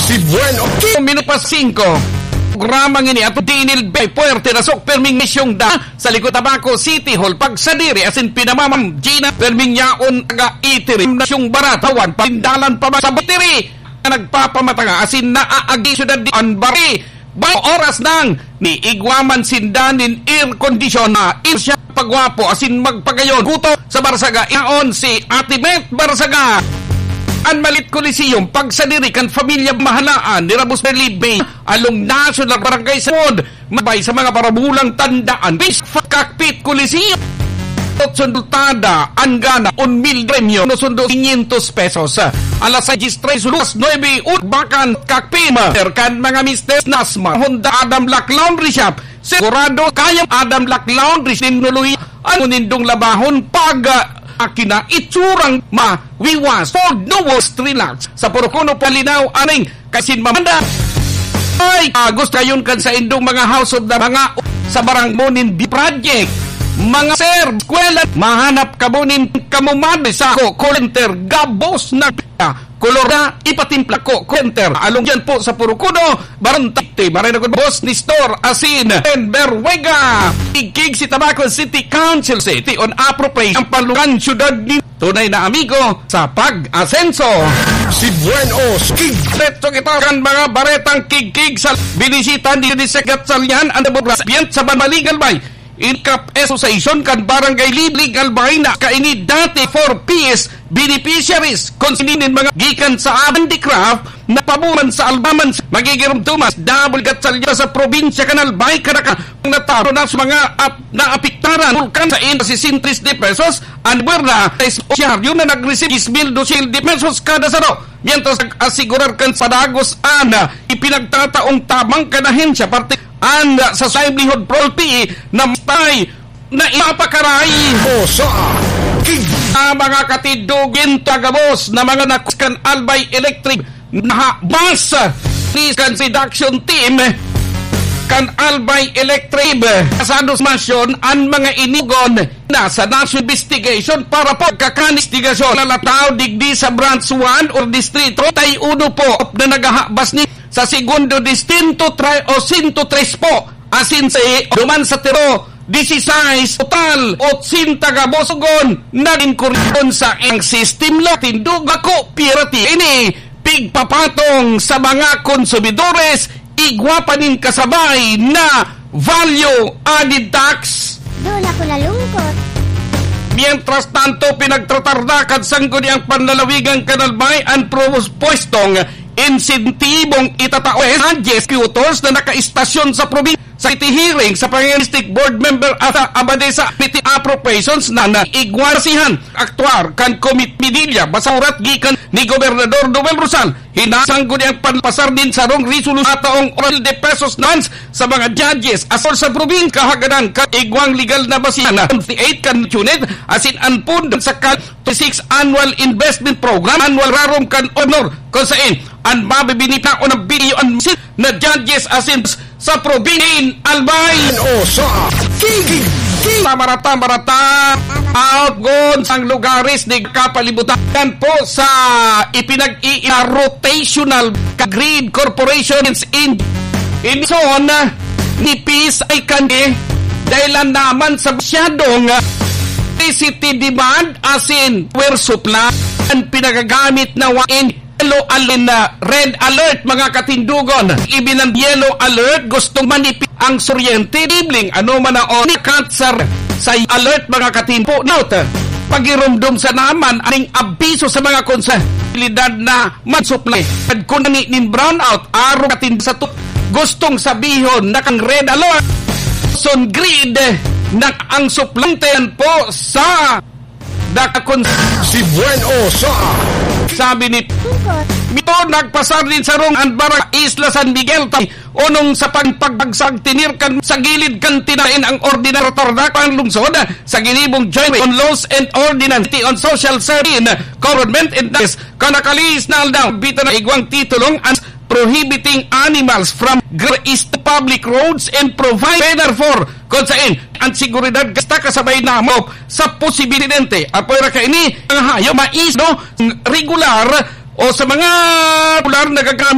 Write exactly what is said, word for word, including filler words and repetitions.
Si Buen Oki. Minuto pa singko. Programa ngini at dinil bay puwerte na sok perming misyong da sa likod Tabaco City Hall. Pagsadiri asin pinamamam Gina perming yaon taga itirim na siyong baratawan parindalan pa sa batiri na nagpapamatanga asin naaagi syudad di Anbari. Bay oras nang ni igwa man sinda nin air condition na insya pagwapo asin magpagayon. Kuto sa Barsaga, yaon si Ate Met Barsaga. An Malit Coliseum, pagsadiri kan pamilya Mahalaan, ni Rabos Felipe, along National Barangay Samod, mabay sa mga parabulang tandaan, Bis Cockpit Coliseum. Sundultada, an gana, un mil premyo, no sundo, quinientos pesos. Alas sais tres, lunas nuebe, Urbacan, Cockpit, kan mga Mister Nasma, Honda Adam Black Laundry Shop, Sigurado kayang Adam Black Laundry, sinuloy ang nindong labahon pag, ah, akina itsurang mawiwas. Ford Nowos, relax. Sa Purukuno, palinaw, aning kasin mamanda. Ay, ah, gusto kayon kan sa indong mga house of the mga sa barang mo nin bi project. Mga sir, eskwela, mahanap ka mo nin kamumad sa ko, call center, gabos na Kolor na ipatimpla ko, center. Along yan po sa Purukuno, Barangay Tacte, maray na gud boss ni Store, Asin, and Berwega. Igkig si Tabaco City Council City on appropriate ang palukan syudad ni tunay na amigo sa pag-asenso. Si Buenos King. Diretso kita kan mga baretang kigkig sa binisita ni Disegat Salian, ang Deborah Bian sa Banbaligal Bay. Inkap Association kan Barangay Lib-, Legal Bay na kaini dati for P S beneficiaries. Kung sininin mga gikan sa Abandicraft na pabuman sa Albaman, magigirumdumas, double gatsalya sa probinsya kan Albay, kadaka ang nataro na sa mga ap-, naapektaran bulkan sa inda sesenta de pesos, ang buwerna sa espisyaryo na nag-receive mil dos mil de pesos kada saro. Mientras nag-asigurar kan padagos an ipinagtataong tabang kan ahensya, parte An sa livelihood property na matay na ipapakaray. O sa King. Ang mga katindog, ginto gabos na mga nakus kan Albay Electric nahabas ni kan reduction team kan Albay Electric. Kasados masyon an mga inugon na sa National Investigation para pagkakan investigasyon. Lalataw digdi sa Branch one or Distrito, tay uno po na nagahabas ni sa segundo distinto, tre-, o sento tres po, asin si duman sa tiro, disisais, total, otsenta ka bosogon na inkuryon sa ang sistem lo. Tindog ako, pirati ini, pigpapatong sa mga konsumidores, igwa pa nin kasabay na value added tax. Doon ako nalungkot. Mientras tanto, pinagtratarda kan sangguniang panlalawigan kan Albay an propwestong insentibong itatao sa executors na nakaistasyon sa probinsya. Sa iti hearing sa Pangalan District Board Member at sa Abadesa P T appropriations na naigwarasihan aktuar kan Committee Medilla, basa urat gikan ni Gobernador Noel Rosal, hinasang guni ang panpasar nin sarong resolusyon ataong oral de pesos nans sa mga judges asol sa probinsya kahagadan kan igwang legal na basihan na twenty-eight kan unit asin an pondo sa kan twenty-six Annual Investment Program, Annual Rarom kan Honor, kung sain an mabibinitaon ng bilyon na judges asin sa probinsya Albay. O sa King, King. Tamarata, marata, outgon sang lugares ni kapalibutan po sa ipinag-i-, rotational grid corporations in, in zone nipis ay kani dahil naman sa masyadong electricity demand asin power supply ang pinagagamit na wain yellow alin na red alert, mga katindugon. Ibinang yellow alert, gustong manipis ang suryente, bibling, ano man ang onikat sa, sa alert, mga katindugon. Note, pagirumdom sa naman, aning abiso sa mga konsa-, posibilidad na mag-supply. At kung nani nin brownout, araw katin sa tu-, gustong sabihon na kang red alert, sun grid, na ang suplente po sa Dakakon si Buen Osa. Sabi ni Mito, nagpasar nin sarong an Barangay Isla San Miguel, tay unong sa pagpagbagsak tinir kan sa gilid kan tinaen ang ordinar tardak ang lungsod sa ginibong joint on laws and ordinance on social service, government and kan nakalihis na aldaw, bita na igwang titulong ang prohibiting animals from graze public roads and provide better for kung sain ang seguridad kasta kasabay na mop sa posibilidente. Apoy ra kaini ang hayo mais, no? Regular o sa mga regular nagagamit